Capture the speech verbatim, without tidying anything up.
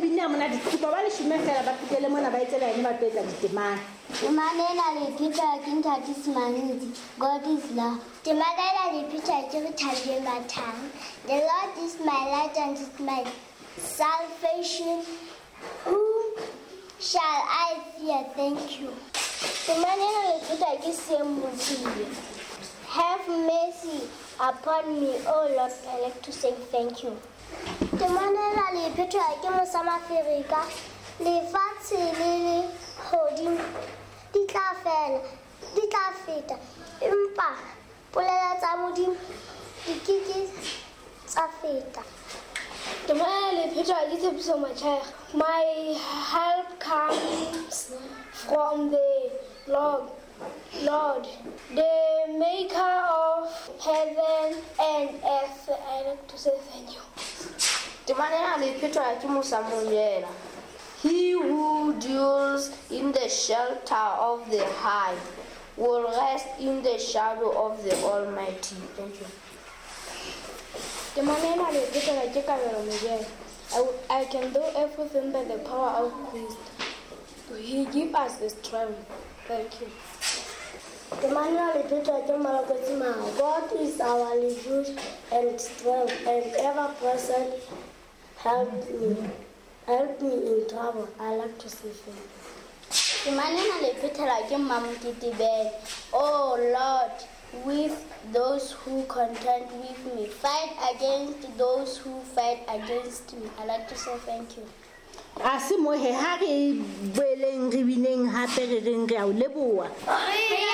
binne ha monate. Ke kopa ba leshome fela ba fihlele mona ba etse line ba tlo etsa ditemana. Temana ena le phetwa ke Ntate Simantsi. God is love. Temana ena le phetwa ke re Thabile Mathang. The Lord is my light and is my salvation. Whom shall I fear? Thank you. Temana ena le phetwa ke Sem Mothibe. Have mercy upon me, O Lord. I like to say thank you. Temana ena le phetwa ke Mosa Maferika. Lefatshe le lehodimo di tla fela, di tla feta, empa polelo tsa Modimo di ke ke tsa feta. Temana le phetwa ke Tshepiso Machaya. My help comes from the Lord, Lord, the maker of heaven and earth. I like to say thank you. Temana ena le phetwa ke Musa Monyela. He who dwells in the shelter of the high will rest in the shadow of the Almighty. Thank you. Temana ena le phetwa ke Kabelo Mojela. I, I can do everything by the power of Christ. He gives us the strength. Thank you. Temana le phetwa ke Malokotsi Mao. God is our refuge and strength and ever present help me. Help me in trouble. I like to say thank you. Temana ena le phetwa ke Mamoketebele. Oh Lord, with those who contend with me, fight against those who fight against me. I like to say thank you. A se mo he ha re boeleng re bineng hape re reng re a o leboha.